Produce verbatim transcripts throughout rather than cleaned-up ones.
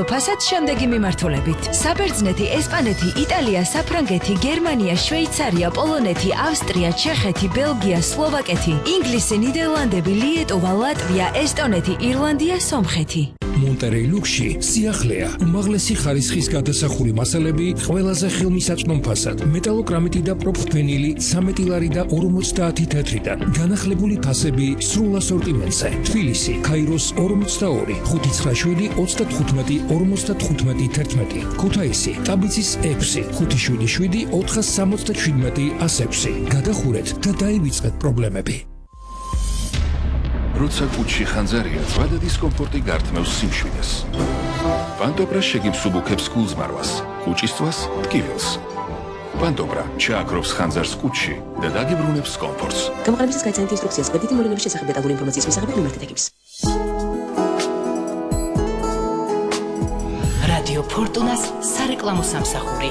ფასად შემდეგი მიმართულებით: საბერძნეთი, ესპანეთი, იტალია, საფრანგეთი, გერმანია, შვეიცარია, პოლონეთი, ავსტრია, ჩეხეთი, ბელგია, სლოვაკეთი, ინგლისი, ნიდერლანდები, ლიეტუვა, ლატვია, ესტონეთი, ირლანდია, სომხეთი. მონტერეი ლუქსში სიახლეა, უმაღლესი ხარისხის გადასახური მასალები ყველაზე ხელმისაწვდომ ფასად, მეტალოკრამიტი და პროფთვენილი ცამეტი ლარი და ორმოცდაათი თეთრიდან, განახლებული ფასები სრულ ასორტიმენტზე. თბილისი, ქაიროს ორმოცდაორი, ხუთი ცხრა შვიდი, ოცდათხუთმეტი, ორმოცდათხუთმეტი თერთმეტი, ქუთაისი, ტაბიცის ექვსი, ხუთი შვიდი შვიდი, ოთხას სამოცდაშვიდმეტი, ას ექვსი. გადახურეთ და დაივიწყეთ პრობლემები. როცა კუჩში ხანძარია, ზვადა დისკომფორტი გართმევს სიმშვიდეს. პანტობრა შეგიმსუბუქებს გულზმარვას, კუჭისთვას ტკივილს. პანტობრა ჩააქრობს ხანძარს კუჩში და დაგიბრუნებს კომფორტს. გამოყენებისას გაიცანით ინსტრუქციას გვერდითი მოვლენების შესახებ დეტალური ინფორმაციის მისაღებად მიმართეთ ექიპს. რადიო ფორტუნას სარეკლამო სამსახური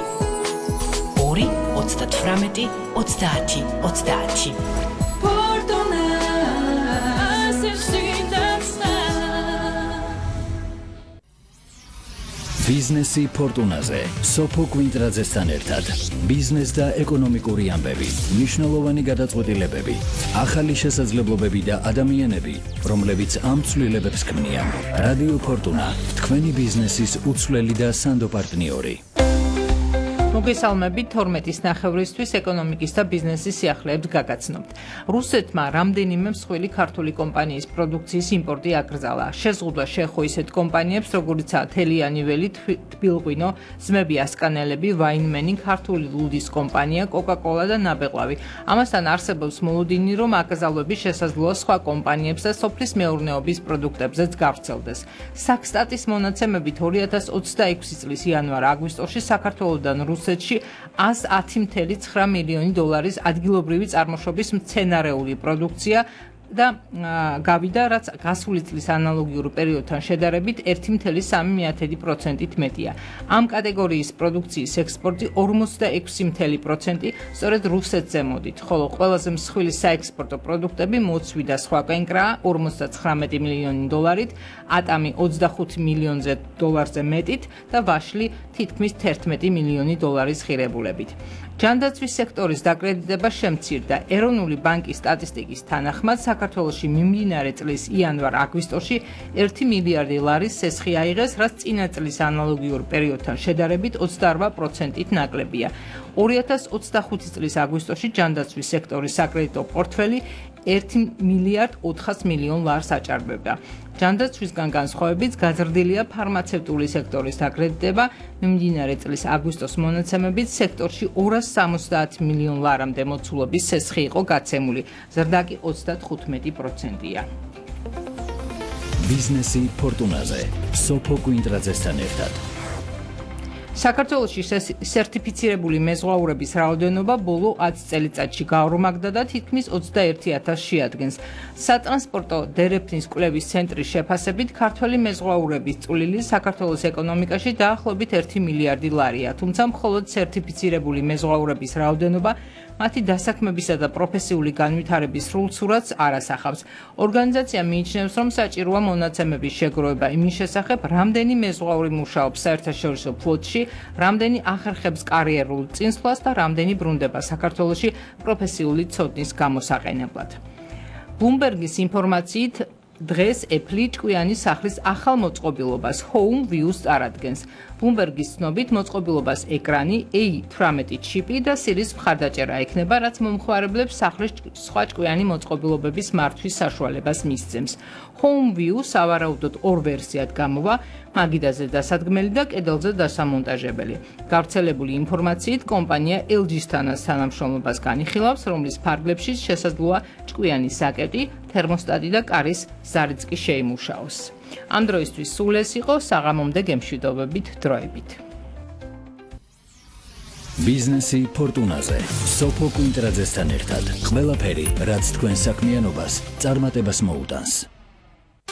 ორი ოცდათვრამეტი ოცდაათი ოცდაათი. ბიზნესი ფორტუნაზე, სოფო კვინტრაძესთან ერთად. ბიზნეს და ეკონომიკური ამბები, მნიშვნელოვანი გადაწყვეტილებები, ახალი შესაძლებლობები და ადამიანები, რომლებიც ამ ცვლილებებს ქმნიან. რადიო ფორტუნა, თქვენი ბიზნესის უცვლელი და სანდო პარტნიორი. მოგესალმებით თორმეტის ნახევრისთვის ეკონომიკის და ბიზნესის სიახლეებს გაგაცნობთ. რუსეთმა რამდენიმე მსხვილი ქართული კომპანიის პროდუქციის იმპორტი აკრძალა. შეზღუდვა შეეხო ისეთ კომპანიებს, როგორიცაა თელიანი ველი, თბილღვინო, ძმები ასკანელები, ვაინმენი, ქართული ლუდის კომპანია, კოკა-კოლა და ნაბეღლავი. ამასთან არსებობს მოლოდინი, რომ აკრძალვები შესაძლოა სხვა კომპანიებს და სოფლის მეურნეობის პროდუქტებზეც გავრცელდეს. საქსტატის მონაცემებით ორი ათას ოცდაექვსი წლის იანვარ-აგვისტოში საქართველოდან რუსეთში ას ათი მცდარი ცხრა მილიონი დოლარის ადგილობრივი წარმოშობის მცენარეული პროდუქცია და გავიდა, რაც გასული წლის ანალოგიურ პერიოდთან შედარებით ერთი მცდარი სამი პროცენტით მეტია. ამ კატეგორიის პროდუქციის ექსპორტი ორმოცდაექვსი პროცენტი სწორედ რუსეთზე მოდით, ხოლო ყველაზე მსხვილი საექსპორტო პროდუქტები მოცვი და სხვა კენკრაა ორმოცდათხრამეტი მილიონი დოლარით, ატამი ოცდახუთი მილიონზე დოლარზე მეტით და ვაშლი თითქმის თერთმეტი მილიონი დოლარის ღირებულებით. ჯანდაცვის სექტორის დაკრედიტება შემცირდა. ეროვნული ბანკის სტატისტიკის თანახმად საქართველოში მიმდინარე წლის იანვარ-აგვისტოში ერთი მილიარდი ლარის სესხი აიღეს, რაც წინა წლის ანალოგიურ პერიოდთან შედარებით ოცდაორ პროცენტით ნაკლებია. ორი ათას ოცდახუთი წლის აგვისტოში ჯანდაცვის სექტორის საკრედიტო პორტფელი ერთი მილიარდ ოთხას მილიონ ლარს აჭარბებდა. ჯანდაცვისგან განსხვავებით გაზრდილია ფარმაცევტული სექტორის დაკრედიტება. მიმდინარე წლის აგვისტოს მონაცემებით სექტორში ორას სამოცდაათი მილიონ ლარამდე მოცულობის სესხი იყო გაცემული. ზრდა კი ოცდათხუთმეტი პროცენტია. ბიზნესი ფორტუნაზე, სოფო კვინტრაძესთან ერთად. საქართველოში სერტიფიცირებული მეზღვაურების რაოდენობა ბოლო ათი წელიწადში გაორმაგდა და თითქმის ოცდაერთი ათასს შეადგენს. სატრანსპორტო დერეფნის კვლევის ცენტრის შეფასებით ქართველი მეზღვაურების წვლილი საქართველოს ეკონომიკაში დაახლოებით ერთი მილიარდი ლარია, თუმცა მხოლოდ სერტიფიცირებული მეზღვაურების რაოდენობა მათი დასაქმებისა და პროფესიული განვითარების სრულ სურათს არ ასახავს. ორგანიზაცია მიიჩნევს, რომ საჭიროა მონაცემების შეგროვება იმის შესახებ, რამდენი მეზღვაური მუშაობს საერთაშორისო ფლოტში, რამდენი ახერხებს კარიერულ წინსვლას და რამდენი ბრუნდება საქართველოში პროფესიული ცოდნის გამოსაყენებლად. ბლუმბერგის ინფორმაციით დღეს Apple ჭკვიანი სახლის ახალ მოწყობილობას Home View-ს წარადგენს. ბლუმბერგის ცნობით მოწყობილობას ეკრანი, A თვრამეტი ჩიპი და Siri-ს მხარდაჭერა ექნება, რაც მომხმარებლებს სახლის სხვა ჭკვიანი მოწყობილობების მართვის საშუალებას მისცემს. Home View სავარაუდოდ ორ ვერსიად გამოვა, მაგიდაზე დასადგმელი და კედელზე დასამონტაჟებელი. გავრცელებული ინფორმაციით კომპანია ელ ჯი-სთანაც თანამშრომლობას განიხილავს, რომლის ფარგლებში შესაძლოა ჭკვიანი საკეტი, თერმოსტატი და კარის ზარიც კი შეიმუშაოს. ამ დროისთვის სულ ეს იყო, საღამომდე გემშვიდობებით დროებით. ბიზნესი ფორტუნაზე, სოფო კვინტრაძესთან ერთად. ყველაფერი, რაც თქვენ საქმიანობას წარმატებას მოუტანს.